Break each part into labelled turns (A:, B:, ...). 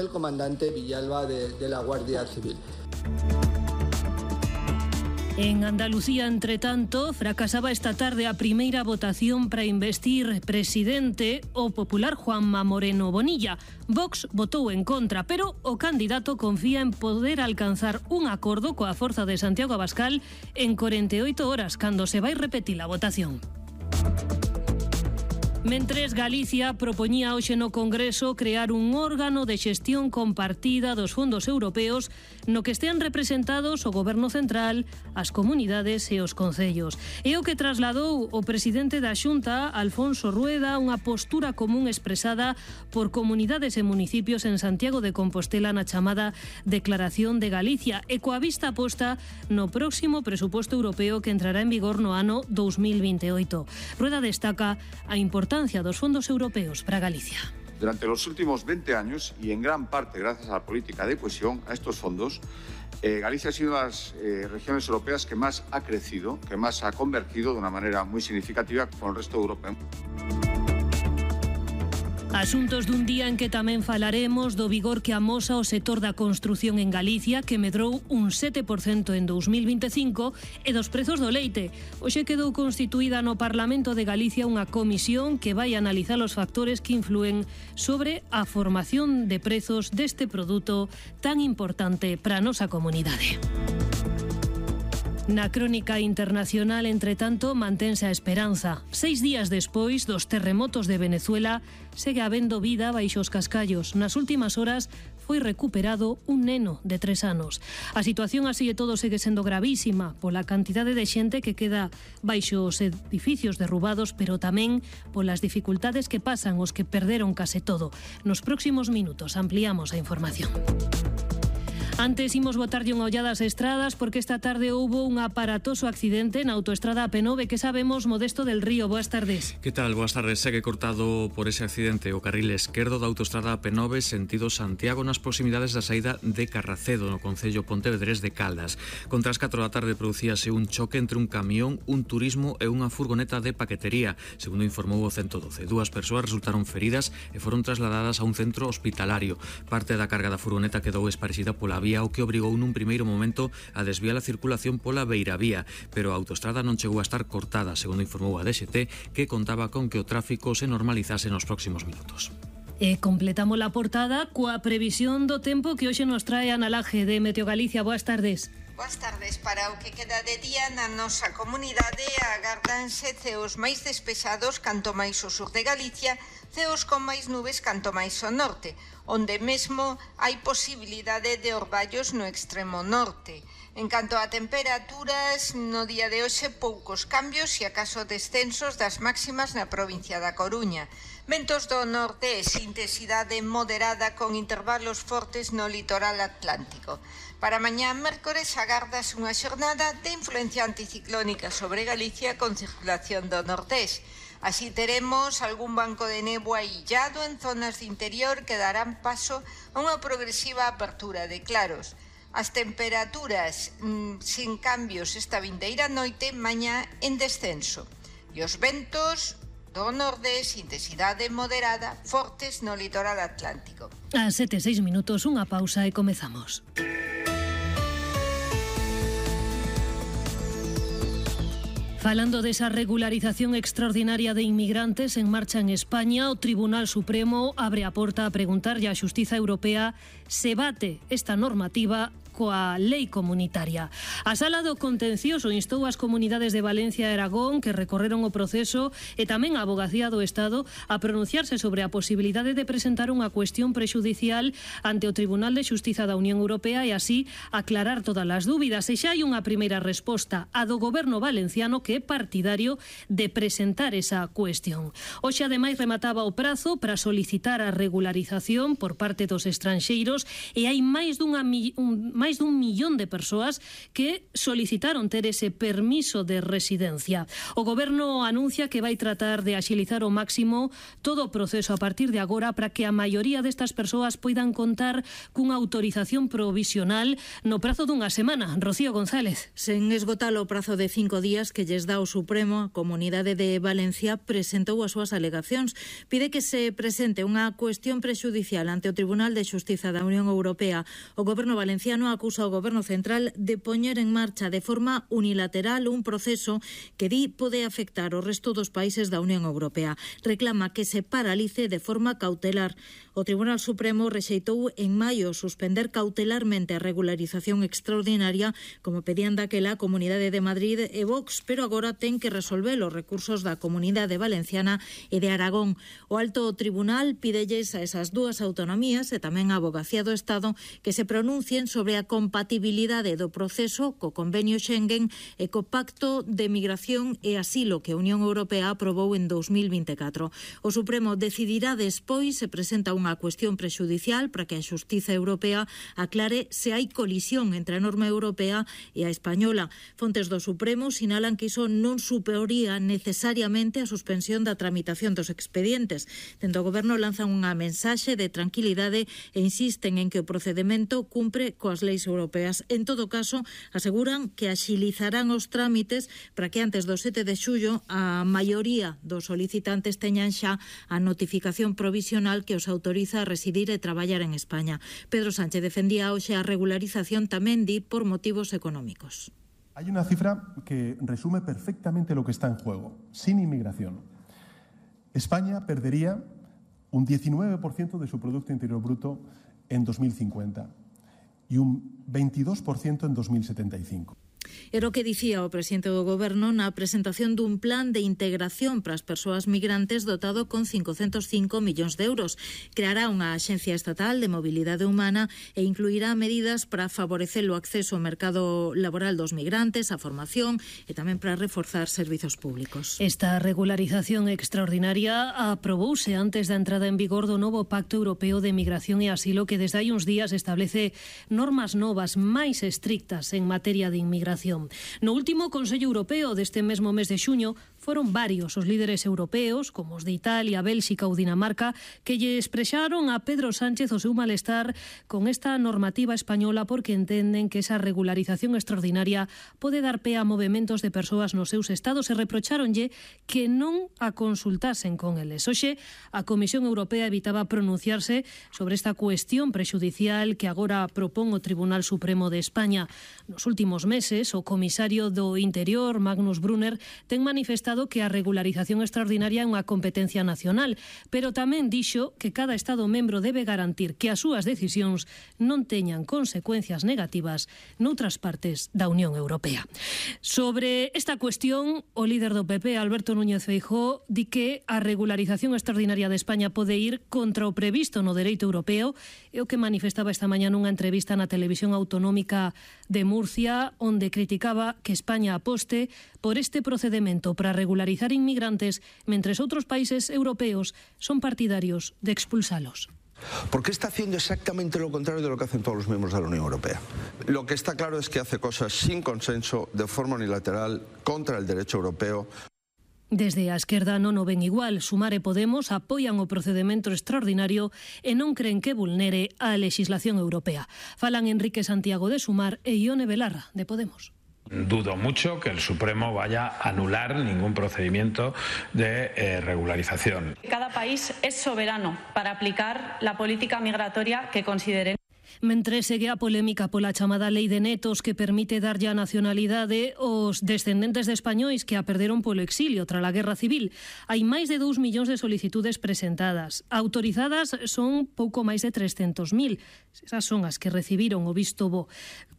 A: el comandante Villalba de la Guardia Civil.
B: En Andalucía, entre tanto, fracasaba esta tarde a primeira votación para investir presidente o popular Juanma Moreno Bonilla. Vox votou en contra, pero o candidato confía en poder alcanzar un acordo coa forza de Santiago Abascal en 48 horas, cando se vai repetir a votación. Mentres, Galicia propoñía hoxe no Congreso crear un órgano de xestión compartida dos fondos europeos no que estean representados o Goberno Central, as comunidades e os concellos. É o que trasladou o presidente da Xunta, Alfonso Rueda, unha postura común expresada por comunidades e municipios en Santiago de Compostela na chamada Declaración de Galicia e coa vista posta no próximo presuposto europeo que entrará en vigor no ano 2028. Rueda destaca a importancia de los fondos europeos para Galicia.
C: Durante los últimos 20 años, y en gran parte gracias a la política de cohesión, a estos fondos, Galicia ha sido una de las regiones europeas que más ha crecido, que más ha convergido de una manera muy significativa con el resto de Europa.
B: Asuntos dun día en que tamén falaremos do vigor que amosa o sector da construción en Galicia, que medrou un 7% en 2025, e dos prezos do leite. Hoxe quedou constituída no Parlamento de Galicia unha comisión que vai analizar os factores que influen sobre a formación de prezos deste produto tan importante para a nosa comunidade. Na crónica internacional, entre tanto, mantense a esperanza. 6 días despois dos terremotos de Venezuela, segue habendo vida baixo os cascallos. Nas últimas horas foi recuperado un neno de 3 anos. A situación así e todo segue sendo gravísima pola cantidade de xente que queda baixo os edificios derrubados, pero tamén polas dificultades que pasan os que perderon case todo. Nos próximos minutos ampliamos a información. Antes imos botarlle unha ollada ás estradas porque esta tarde houbo un aparatoso accidente na autoestrada AP9. Que sabemos, Modesto del Río? Boas tardes.
D: Que tal? Boas tardes. Segue cortado por ese accidente o carril esquerdo da autoestrada AP9 sentido Santiago nas proximidades da saída de Carracedo, no concello Pontevedrés de Caldas. Contra as 4 da tarde producíase un choque entre un camión, un turismo e unha furgoneta de paquetería. Segundo informou o 112, 2 persoas resultaron feridas e foron trasladadas a un centro hospitalario. Parte da carga da furgoneta quedou esparexida pola vía, o que obrigou nun primeiro momento a desviar a circulación pola beiravía, pero a autoestrada non chegou a estar cortada, segundo informou a DXT, que contaba con que o tráfico se normalizase nos próximos minutos.
B: E completamos a portada coa previsión do tempo que hoxe nos trae Ana Laje de Meteo Galicia. Boas tardes.
E: Boas tardes. Para o que queda de día na nosa comunidade agárdanse ceos máis despejados canto máis ao sur de Galicia, ceos con máis nubes canto máis ao norte, onde mesmo hai posibilidade de orballos no extremo norte. En canto a temperaturas, no día de hoxe poucos cambios e acaso descensos das máximas na provincia da Coruña. Ventos do norte e intensidade moderada con intervalos fortes no litoral atlántico. Para mañá mércores agardas unha xornada de influencia anticiclónica sobre Galicia con circulación do nortés. Así teremos algún banco de néboa illado en zonas de interior que darán paso a unha progresiva apertura de claros. As temperaturas sin cambios esta vindeira noite, mañá en descenso. E os ventos do nordés, intensidade moderada, fortes no litoral atlántico.
B: A 7:06 minutos, unha pausa e comezamos. Falando desa regularización extraordinaria de inmigrantes en marcha en España, o Tribunal Supremo abre a porta a preguntarlle á Xustiza Europea se bate esta normativa coa lei comunitaria. A Sala do Contencioso instou as comunidades de Valencia e Aragón que recorreron o proceso e tamén a Avogacía do Estado a pronunciarse sobre a posibilidade de presentar unha cuestión prexudicial ante o Tribunal de Xustiza da Unión Europea e así aclarar todas as dúbidas. E xa hai unha primeira resposta, a do Goberno valenciano, que é partidario de presentar esa cuestión. Hoxe ademais remataba o prazo para solicitar a regularización por parte dos estranxeiros e hai máis máis dun millón de persoas que solicitaron ter ese permiso de residencia. O Goberno anuncia que vai tratar de axilizar ao máximo todo o proceso a partir de agora para que a maioría destas persoas poidan contar cunha autorización provisional no prazo dunha semana. Rocío González.
F: Sen esgotar o prazo de 5 días que lles dá o Supremo, a Comunidade de Valencia presentou as súas alegacións. Pide que se presente unha cuestión prexudicial ante o Tribunal de Xustiza da Unión Europea. O Goberno valenciano acusa ao Goberno central de poñer en marcha de forma unilateral un proceso que di pode afectar o resto dos países da Unión Europea. Reclama que se paralice de forma cautelar. O Tribunal Supremo rexeitou en maio suspender cautelarmente a regularización extraordinaria, como pedían daquela a Comunidade de Madrid e Vox, pero agora ten que resolver os recursos da Comunidade Valenciana e de Aragón. O Alto Tribunal pídelles a esas dúas autonomías e tamén a Avogacía do Estado que se pronuncien sobre a compatibilidade do proceso co Convenio Schengen e co Pacto de Migración e Asilo que a Unión Europea aprobou en 2024. O Supremo decidirá despois se presenta unha cuestión prexudicial para que a Xustiza Europea aclare se hai colisión entre a norma europea e a española. Fontes do Supremo sinalan que iso non suporía necesariamente a suspensión da tramitación dos expedientes. Dentro do Goberno lanzan unha mensaxe de tranquilidade e insisten en que o procedemento cumpre coas leis europeas. En todo caso, aseguran que axilizarán os trámites para que antes do 7 de xullo a maioría dos solicitantes teñan xa a notificación provisional que os autoriza a residir e traballar en España. Pedro Sánchez defendía hoxe a regularización tamén di por motivos económicos.
G: Hay una cifra que resume perfectamente lo que está en juego. Sin inmigración, España perdería un 19% de su Producto Interior Bruto en 2050 y un 22% en 2075.
F: Era o que dicía o presidente do Goberno na presentación dun plan de integración para as persoas migrantes dotado con 505 millóns de euros. Creará unha axencia estatal de mobilidade humana e incluirá medidas para favorecer o acceso ao mercado laboral dos migrantes, a formación e tamén para reforzar servizos públicos.
B: Esta regularización extraordinaria aprobouse antes da entrada en vigor do novo Pacto Europeo de Migración e Asilo que desde hai uns días establece normas novas máis estrictas en materia de inmigración. No último Consello Europeo deste mesmo mes de xuño foron varios os líderes europeos, como os de Italia, Bélxica ou Dinamarca, que lle expresaron a Pedro Sánchez o seu malestar con esta normativa española porque entenden que esa regularización extraordinaria pode dar pé a movementos de persoas nos seus estados e reprocháronlle que non a consultasen con eles. Hoxe, a Comisión Europea evitaba pronunciarse sobre esta cuestión prexudicial que agora propón o Tribunal Supremo de España. Nos últimos meses, o comisario do Interior, Magnus Brunner, ten manifestado que a regularización extraordinaria é unha competencia nacional, pero tamén dixo que cada Estado membro debe garantir que as súas decisións non teñan consecuencias negativas noutras partes da Unión Europea. Sobre esta cuestión, o líder do PP, Alberto Núñez Feijóo, di que a regularización extraordinaria de España pode ir contra o previsto no dereito europeo, e o que manifestaba esta mañá nunha entrevista na televisión autonómica de Murcia, onde criticaba que España aposte por este procedemento para regularizar inmigrantes, mentres outros países europeos son partidarios de expulsalos.
H: Porque está haciendo exactamente lo contrario de lo que hacen todos los miembros de la Unión Europea. Lo que está claro es que hace cosas sin consenso, de forma unilateral, contra el derecho europeo.
B: Desde a esquerda non o ven igual. Sumar e Podemos apoian o procedemento extraordinario e non creen que vulnere a legislación europea. Falan Enrique Santiago de Sumar e Ione Belarra de Podemos.
I: Dudo mucho que el Supremo vaya a anular ningún procedimiento de regularización.
J: Cada país es soberano para aplicar la política migratoria que considere.
B: Mentre segue a polémica pola chamada Lei de Netos que permite darlle a nacionalidade aos descendentes de españois que a perderon polo exilio tras a Guerra Civil. Hai máis de 2 millóns de solicitudes presentadas. Autorizadas son pouco máis de 300.000. Esas son as que recibiron o visto bo.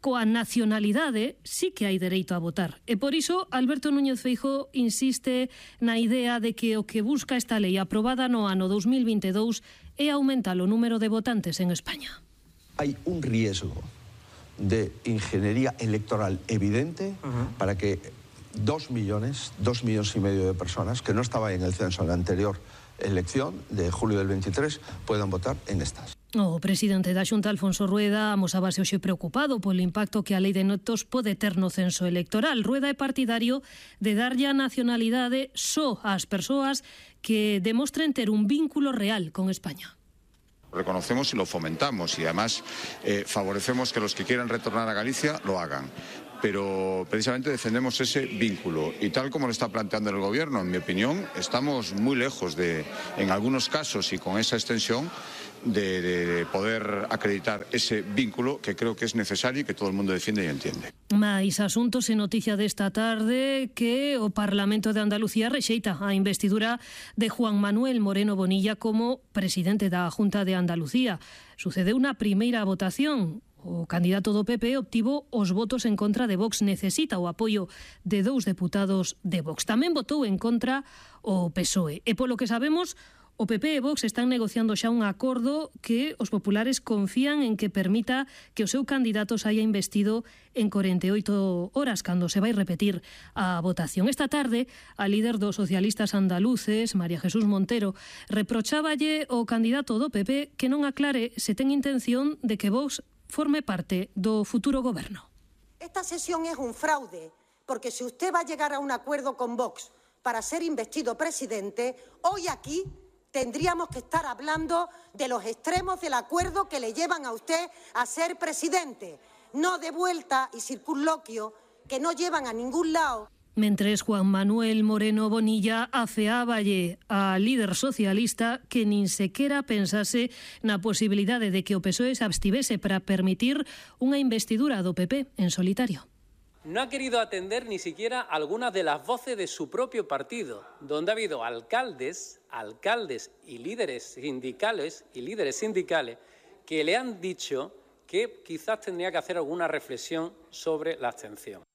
B: Coa nacionalidade sí que hai dereito a votar. E por iso Alberto Núñez Feijóo insiste na idea de que o que busca esta lei aprobada no ano 2022 é aumentar o número de votantes en España.
H: Hay un riesgo de ingeniería electoral evidente para que 2 millones y medio de personas que no estaban en el censo en la anterior elección de julio del 23 puedan votar en estas.
B: O presidente da Xunta, Alfonso Rueda, amosábase hoxe preocupado polo impacto que a lei de netos pode ter no censo electoral. Rueda é partidario de darlle a nacionalidade só ás persoas que demostren ter un vínculo real con España.
C: Reconocemos y lo fomentamos y además favorecemos que los que quieran retornar a Galicia lo hagan. Pero precisamente defendemos ese vínculo y tal como lo está planteando el Gobierno, en mi opinión, estamos muy lejos de, en algunos casos y con esa extensión, de poder acreditar ese vínculo que creo que es necesario y que todo el mundo defiende y entiende.
B: Mais asuntos e noticia desta tarde que o Parlamento de Andalucía rexeita a investidura de Juan Manuel Moreno Bonilla como presidente da Xunta de Andalucía. Sucedeu unha primeira votación. O candidato do PP obtivo os votos en contra de Vox. Necesita o apoio de 2 deputados de Vox. Tamén votou en contra o PSOE. E polo que sabemos, o PP e Vox están negociando xa un acordo que os populares confían en que permita que o seu candidato se haya investido en 48 horas, cando se vai repetir a votación. Esta tarde, a líder dos socialistas andaluces, María Jesús Montero, reprocháballe ao candidato do PP que non aclare se ten intención de que Vox forme parte do futuro goberno.
K: Esta sesión es un fraude, porque si usted va a llegar a un acuerdo con Vox para ser investido presidente, hoy aquí tendríamos que estar hablando de los extremos del acuerdo que le llevan a usted a ser presidente, no de vuelta y circunloquio que no llevan a ningún lado.
B: Mentres Juan Manuel Moreno Bonilla afeáballe a líder socialista que nin sequera pensase na posibilidade de que o PSOE se abstivese para permitir unha investidura do PP en solitario.
L: No ha querido atender ni siquiera algunas de las voces de su propio partido, donde ha habido alcaldes y líderes sindicales que le han dicho que quizás tendría que hacer alguna reflexión sobre la abstención.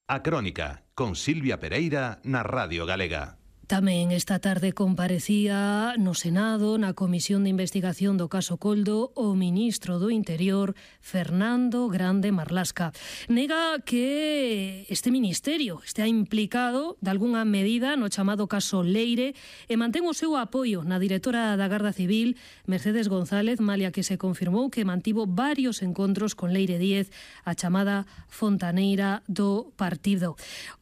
M: A Crónica, con Silvia Pereira, na Radio Galega.
B: Tamén esta tarde comparecía no Senado, na Comisión de Investigación do caso Coldo, o ministro do Interior, Fernando Grande Marlasca. Nega que este ministerio estea implicado de algunha medida no chamado caso Leire e mantén o seu apoio na directora da Garda Civil, Mercedes González, malia que se confirmou que mantivo varios encontros con Leire Díez, a chamada fontaneira do partido.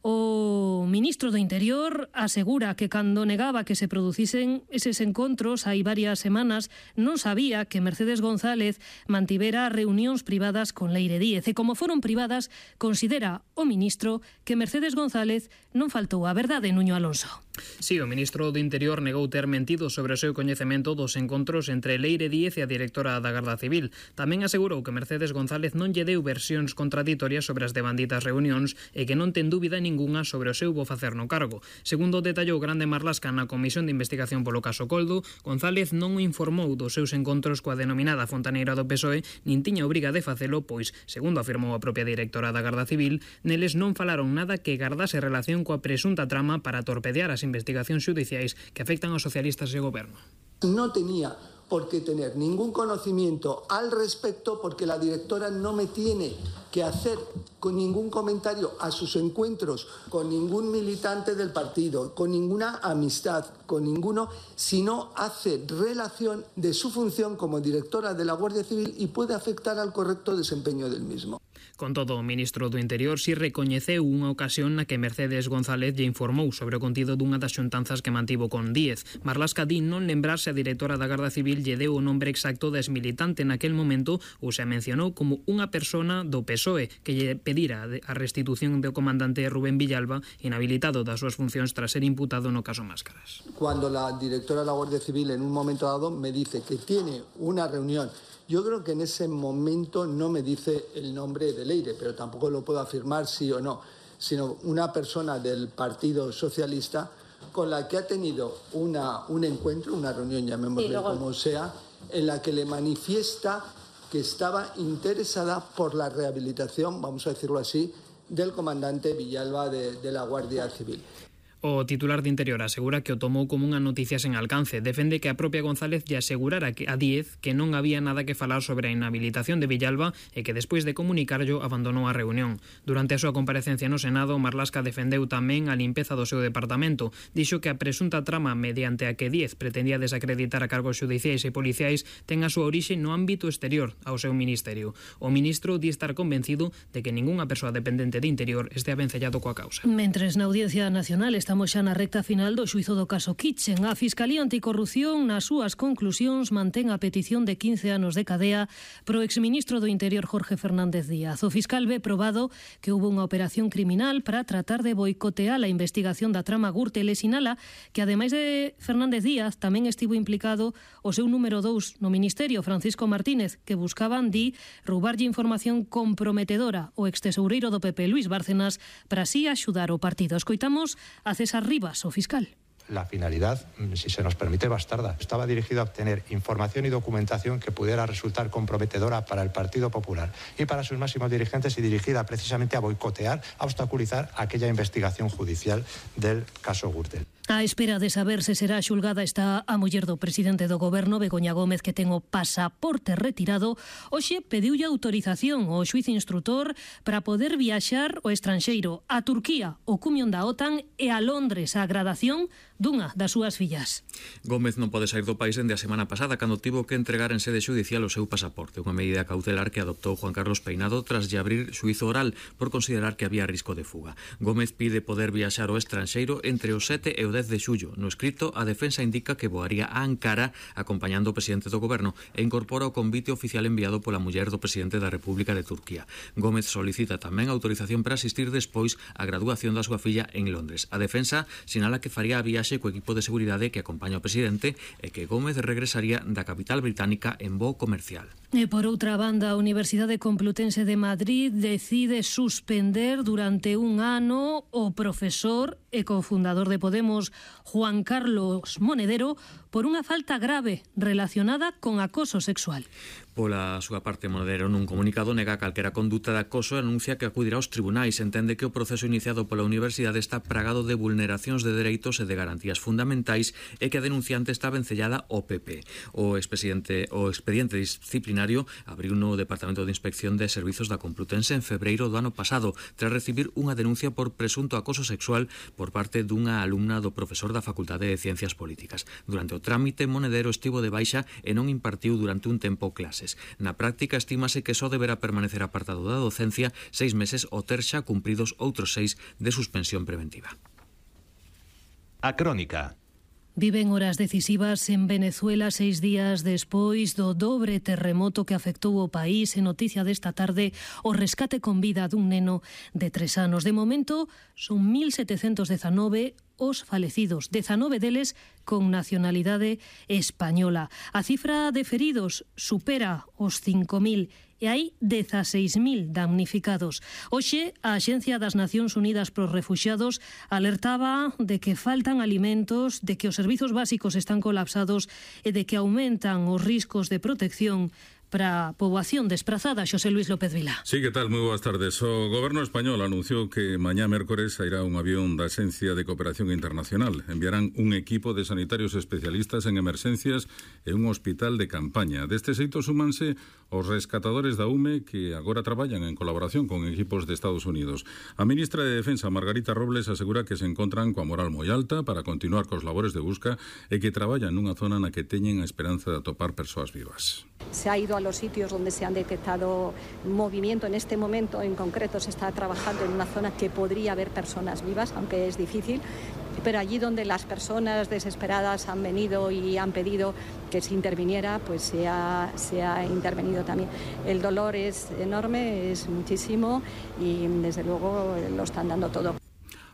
B: O ministro do Interior asegura que cando negaba que se producisen eses encontros hai varias semanas non sabía que Mercedes González mantivera reunións privadas con Leire Díez e como foron privadas considera o ministro que Mercedes González non faltou a verdade, Nuño Alonso.
N: Sí, o ministro do Interior negou ter mentido sobre o seu coñecemento dos encontros entre Leire Díez e a directora da Garda Civil. Tamén asegurou que Mercedes González non lle deu versións contraditorias sobre as devanditas reunións e que non ten dúbida ningunha sobre o seu bo facer no cargo. Segundo detallou Grande Marlasca na Comisión de Investigación polo caso Coldo, González non o informou dos seus encontros coa denominada fontaneira do PSOE, nin tiña obriga de facelo, pois, segundo afirmou a propia directora da Garda Civil, neles non falaron nada que gardase relación coa presunta trama para torpedear as investigacións xudiciais que afectan aos socialistas e ao goberno.
A: No tenía por qué tener ningún conocimiento al respecto porque la directora no me tiene que hacer con ningún comentario a sus encuentros con ningún militante del partido, con ninguna amistad, con ninguno, sino hace relación de su función como directora de la Guardia Civil y puede afectar al correcto desempeño del mismo.
N: Con todo, o ministro do Interior si recoñeceu unha ocasión na que Mercedes González lle informou sobre o contido dunha das xuntanzas que mantivo con Díez. Marlasca di non lembrarse a directora da Garda Civil lle deu o nombre exacto da exmilitante naquel momento ou se mencionou como unha persona do PSOE que lle pedira a restitución do comandante Rubén Villalba, inhabilitado das súas funcións tras ser imputado no caso Máscaras.
A: Cuando la directora de la Guardia Civil en un momento dado me dice que tiene una reunión, yo creo que en ese momento no me dice el nombre de Leire, pero tampoco lo puedo afirmar sí o no, sino una persona del Partido Socialista con la que ha tenido un encuentro, una reunión, llamémosle como sea, en la que le manifiesta que estaba interesada por la rehabilitación, vamos a decirlo así, del comandante Villalba de la Guardia Civil.
N: O titular de Interior asegura que o tomou como unha noticia sen alcance. Defende que a propia González lle asegurara a Díez que non había nada que falar sobre a inhabilitación de Villalba e que despois de comunicarlo abandonou a reunión. Durante a súa comparecencia no Senado, Marlaska defendeu tamén a limpeza do seu departamento. Dixo que a presunta trama mediante a que Díez pretendía desacreditar a cargos xudiciais e policiais ten a súa orixe no ámbito exterior ao seu ministerio. O ministro di estar convencido de que ningunha persoa dependente de Interior estea vencellado coa causa.
B: Mentres na Audiencia Nacional estamos xa na recta final do xuízo do caso Kitchen, a Fiscalía Anticorrupción nas súas conclusións mantén a petición de 15 anos de cadea pro exministro do Interior Jorge Fernández Díaz. O fiscal ve probado que houve unha operación criminal para tratar de boicotear a investigación da trama Gürtel e sinala que ademais de Fernández Díaz tamén estivo implicado o seu número 2 no Ministerio, Francisco Martínez, que buscaban roubarlle información comprometedora o extesoureiro do PP, Luis Bárcenas, para así axudar o partido. Escoitamos a César Rivas, o fiscal.
O: La finalidad, si se nos permite, bastarda. Estaba dirigido a obtener información y documentación que pudiera resultar comprometedora para el Partido Popular y para sus máximos dirigentes y dirigida precisamente a boicotear, a obstaculizar aquella investigación judicial del caso Gürtel.
B: A espera de saber se será xulgada está a muller do presidente do goberno, Begoña Gómez, que ten o pasaporte retirado. Hoxe pediulle autorización ao xuíz instrutor para poder viaxar ao estranxeiro, a Turquía, o cumión da OTAN e a Londres, a gradación dunha das súas fillas.
D: Gómez non pode sair do país dende a semana pasada, cando tivo que entregar en sede xudicial o seu pasaporte, unha medida cautelar que adoptou Juan Carlos Peinado tras lle abrir xuízo oral por considerar que había risco de fuga. Gómez pide poder viaxar ao estranxeiro entre o 7 e o 10 de xullo. No escrito, a defensa indica que voaría a Ankara acompañando o presidente do goberno e incorpora o convite oficial enviado pola muller do presidente da República de Turquía. Gómez solicita tamén autorización para asistir despois á graduación da súa filla en Londres. A defensa sinala que faría a viaxe co equipo de seguridade que acompaña o presidente e que Gómez regresaría da capital británica en voo comercial.
B: E por outra banda, a Universidade Complutense de Madrid decide suspender durante un ano o profesor e cofundador de Podemos, Juan Carlos Monedero, por unha falta grave relacionada con acoso sexual.
D: Pola súa parte, Monedero nun comunicado nega calquera conduta de acoso e anuncia que acudirá aos tribunais. Entende que o proceso iniciado pola universidade está plagado de vulneracións de dereitos e de garantías fundamentais e que a denunciante está vencellada ao PP. O expediente disciplinario abriu no Departamento de Inspección de Servizos da Complutense en febreiro do ano pasado, tras recibir unha denuncia por presunto acoso sexual por parte dunha alumna do profesor da Facultade de Ciencias Políticas. Durante o trámite, Monedero estivo de baixa e non impartiu durante un tempo clases. Na práctica, estímase que só deberá permanecer apartado da docencia 6 meses ou ter xa cumpridos outros 6 de suspensión preventiva.
M: A Crónica.
B: Viven horas decisivas en Venezuela 6 días despois do dobre terremoto que afectou o país. En noticia desta tarde, o rescate con vida dun neno de 3 anos. De momento, son 1.719 os falecidos, 19 deles con nacionalidade española. A cifra de feridos supera os 5.000 e hai 16.000 damnificados. Hoxe, a Axencia das Nacións Unidas pros Refuxiados alertaba de que faltan alimentos, de que os servizos básicos están colapsados e de que aumentan os riscos de protección para a poboación desprazada. Xosé Luis López Vilá.
P: Sí, que tal? Moi boas tardes. O Goberno español anunciou que mañá mércores sairá un avión da Axencia de Cooperación Internacional. Enviarán un equipo de sanitarios especialistas en emerxencias e un hospital de campaña. Deste xeito súmanse os rescatadores da UME que agora traballan en colaboración con equipos de Estados Unidos. A ministra de Defensa, Margarita Robles, asegura que se encontran coa moral moi alta para continuar cos labores de busca e que traballan nunha zona na que teñen a esperanza de atopar persoas vivas.
Q: Se ha ido a los sitios donde se han detectado movimiento. En este momento en concreto se está trabajando en una zona que podría haber personas vivas, aunque es difícil, pero allí donde las personas desesperadas han venido y han pedido que se interviniera, pues se ha intervenido también. El dolor es enorme, es muchísimo y desde luego lo están dando todo.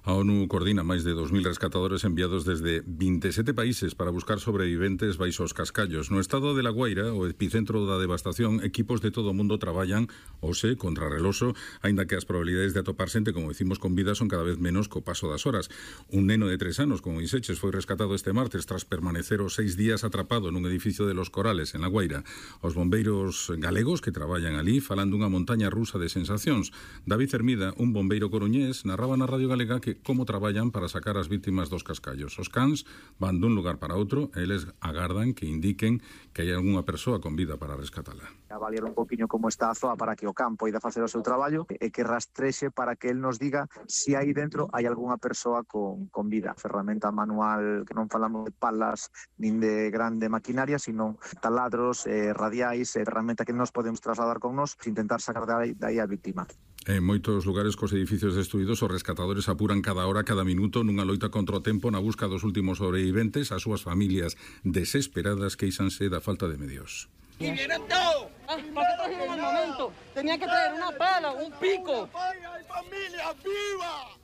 P: A ONU coordina máis de 2.000 rescatadores enviados desde 27 países para buscar sobreviventes baixo os cascallos. No estado de La Guaira, o epicentro da devastación, equipos de todo o mundo traballan hoxe contra reloxo, aínda que as probabilidades de atopar xente, como decimos, con vida son cada vez menos co paso das horas. Un neno de 3 anos, como Iseches, foi rescatado este martes tras permanecer os 6 días atrapado nun edificio de Los Corales, en La Guaira. Os bombeiros galegos que traballan ali falan dunha montaña rusa de sensacións. David Hermida, un bombeiro coruñés, narraba na Radio Galega que como traballan para sacar as vítimas dos cascallos. Os cans van dun lugar para outro e eles agardan que indiquen que hai algunha persoa con vida para rescatala.
R: Avaliar un poquinho como está a zoa para que o can poida facer o seu traballo e que rastrexe para que el nos diga se aí dentro hai algunha persoa con vida. Ferramenta manual, que non falamos de palas nin de grande maquinaria, sino taladros, radiais, ferramenta que nos podemos trasladar con nos e intentar sacar de aí a víctima.
P: En moitos lugares cos edificios destruídos, os rescatadores apuran cada hora, cada minuto nunha loita contra o tempo na busca dos últimos sobreviventes. As súas familias desesperadas queixanse da falta de medios.
S: ¡Y vienen todos! ¿Por qué trajeron al momento? Tenía que traer una pala, un pico. ¡Hay familia viva!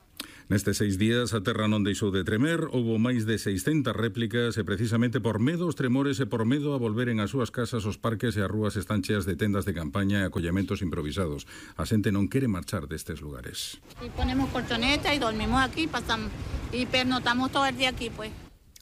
P: Nestes 6 días a terra non deixou de tremer, houbo máis de 600 réplicas e precisamente por medo aos tremores e por medo a volveren ás súas casas, os parques e as rúas están cheas de tendas de campaña e acollementos improvisados. A xente non quere marchar destes lugares.
T: Y ponemos colchoneta y dormimos aquí y pernotamos todo el día aquí, pues.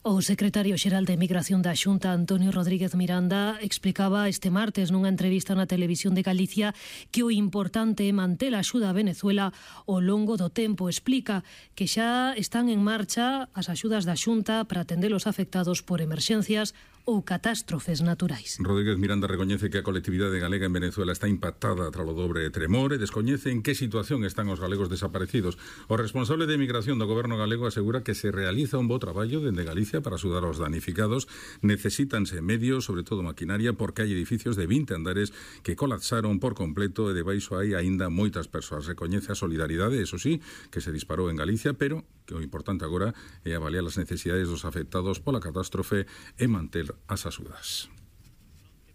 B: O secretario xeral de Migración da Xunta, Antonio Rodríguez Miranda, explicaba este martes nunha entrevista na Televisión de Galicia que o importante é manter a axuda a Venezuela ao longo do tempo. Explica que xa están en marcha as axudas da Xunta para atender os afectados por emerxencias ou catástrofes naturais.
P: Rodríguez Miranda recoñece que a colectividade galega en Venezuela está impactada tras o dobre tremor e descoñece en que situación están os galegos desaparecidos. O responsable de Migración do Goberno galego asegura que se realiza un bo traballo dende Galicia para axudar aos danificados. Necesítanse medios, sobre todo maquinaria, porque hai edificios de 20 andares que colapsaron por completo e debaixo hai aínda moitas persoas. Recoñece a solidaridade, eso sí, que se disparou en Galicia, pero que o importante agora é avaliar as necesidades dos afectados pola catástrofe e manter as axudas.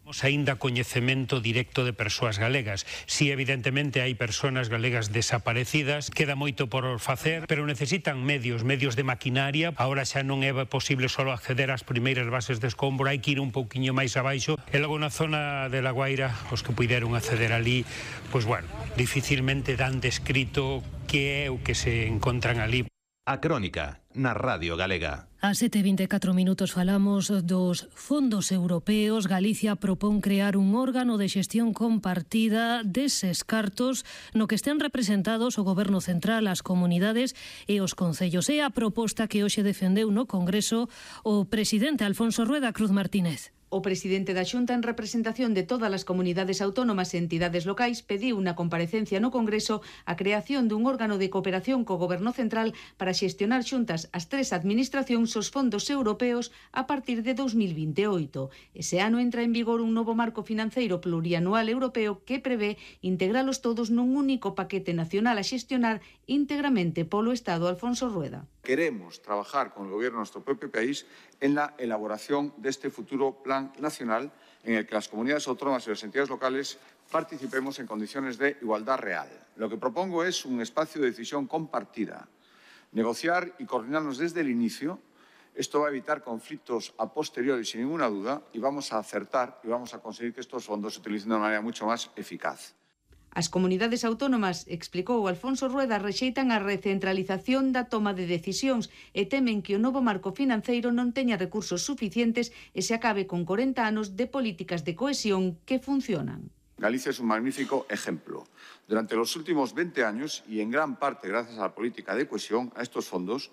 U: Temos aínda coñecemento directo de persoas galegas. Si evidentemente hai persoas galegas desaparecidas, queda moito por facer, pero necesitan medios de maquinaria. Ahora xa non é posible só acceder ás primeiras bases de escombro, hai que ir un pouquiño máis abaixo. E logo na zona de La Guaira, os que puideron acceder ali, pois bueno, dificilmente dan descrito que é o que se encontran ali.
M: A Crónica, na Radio Galega.
B: A 7:24 minutos falamos dos fondos europeos. Galicia propón crear un órgano de xestión compartida deses cartos no que estén representados o Goberno Central, as comunidades e os concellos. É a proposta que hoxe defendeu no Congreso o presidente Alfonso Rueda Cruz Martínez.
V: O presidente da Xunta, en representación de todas as comunidades autónomas e entidades locais, pediu unha comparecencia no Congreso a creación dun órgano de cooperación co Goberno Central para xestionar xuntas as 3 administracións os fondos europeos a partir de 2028. Ese ano entra en vigor un novo marco financeiro plurianual europeo que prevé integralos todos nun único paquete nacional a xestionar íntegramente polo Estado. Alfonso Rueda.
C: Queremos trabajar con el gobierno de nuestro propio país en la elaboración de este futuro plan nacional en el que las comunidades autónomas y las entidades locales participemos en condiciones de igualdad real. Lo que propongo es un espacio de decisión compartida, negociar y coordinarnos desde el inicio. Esto va a evitar conflictos a posteriori sin ninguna duda y vamos a acertar y vamos a conseguir que estos fondos se utilicen de una manera mucho más eficaz.
V: As comunidades autónomas, explicou Alfonso Rueda, rexeitan a recentralización da toma de decisións e temen que o novo marco financeiro non teña recursos suficientes e se acabe con 40 anos de políticas de cohesión que funcionan.
C: Galicia es un magnífico ejemplo. Durante los últimos 20 años, y en gran parte gracias a la política de cohesión, a estos fondos,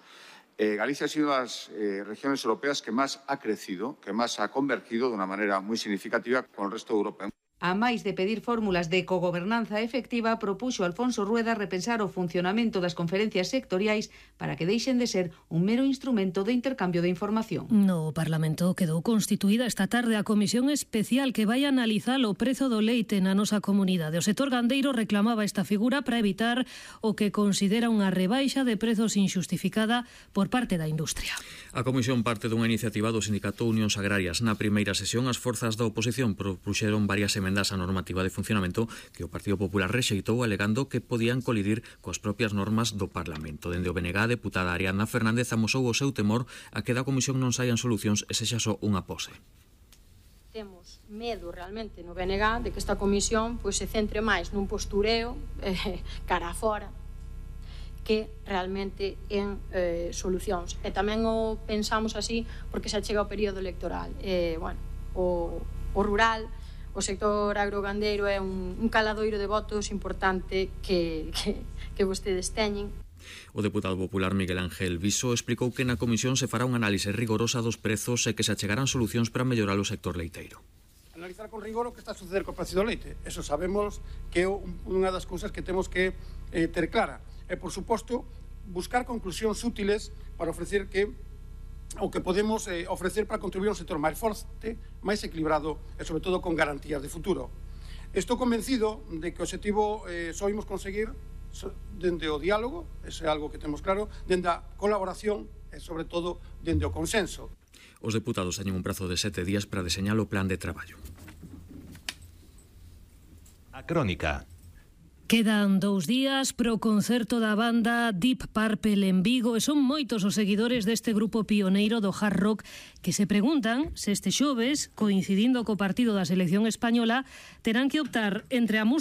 C: Galicia ha sido una de las regiones europeas que más ha crecido, que más ha convergido de una manera muy significativa con el resto de Europa.
V: A máis de pedir fórmulas de cogobernanza efectiva, propuxo Alfonso Rueda repensar o funcionamento das conferencias sectoriais para que deixen de ser un mero instrumento de intercambio de información.
B: No Parlamento quedou constituída esta tarde a comisión especial que vai analizar o prezo do leite na nosa comunidade. O sector gandeiro reclamaba esta figura para evitar o que considera unha rebaixa de prezos injustificada por parte da industria.
D: A comisión parte dunha iniciativa do Sindicato Unións Agrarias. Na primeira sesión, as forzas da oposición propuxeron varias emendas á normativa de funcionamento que o Partido Popular rexeitou alegando que podían colidir coas propias normas do Parlamento. Dende o BNG, a deputada Ariadna Fernández amosou o seu temor a que da comisión non saian solucións e sexa só unha pose.
W: Temos medo realmente no BNG de que esta comisión se centre máis nun postureo cara a fora que realmente en solucións. E tamén o pensamos así porque xa chega o período electoral. O rural, o sector agrogandeiro é un caladoiro de votos importante que vostedes teñen.
D: O deputado popular Miguel Ángel Viso explicou que na comisión se fará unha análise rigorosa dos prezos e que se achegarán solucións para mellorar o sector leiteiro.
E: Analizar con rigor o que está a suceder co precio do leite. Eso sabemos que é unha das cousas que temos que ter clara. E, por suposto, buscar conclusións útiles para ofrecer o que podemos ofrecer para contribuir a un sector máis forte, máis equilibrado e, sobre todo, con garantías de futuro. Estou convencido de que o objetivo só imos conseguir dende o diálogo, ese é algo que temos claro, dende a colaboración e, sobre todo, dende o consenso.
D: Os deputados teñen un prazo de 7 días para deseñar o plan de traballo.
M: A Crónica.
B: Quedan 2 días pro concerto da banda Deep Purple en Vigo e son moitos os seguidores deste grupo pioneiro do hard rock que se preguntan se este xoves, coincidindo co partido da selección española, terán que optar entre a música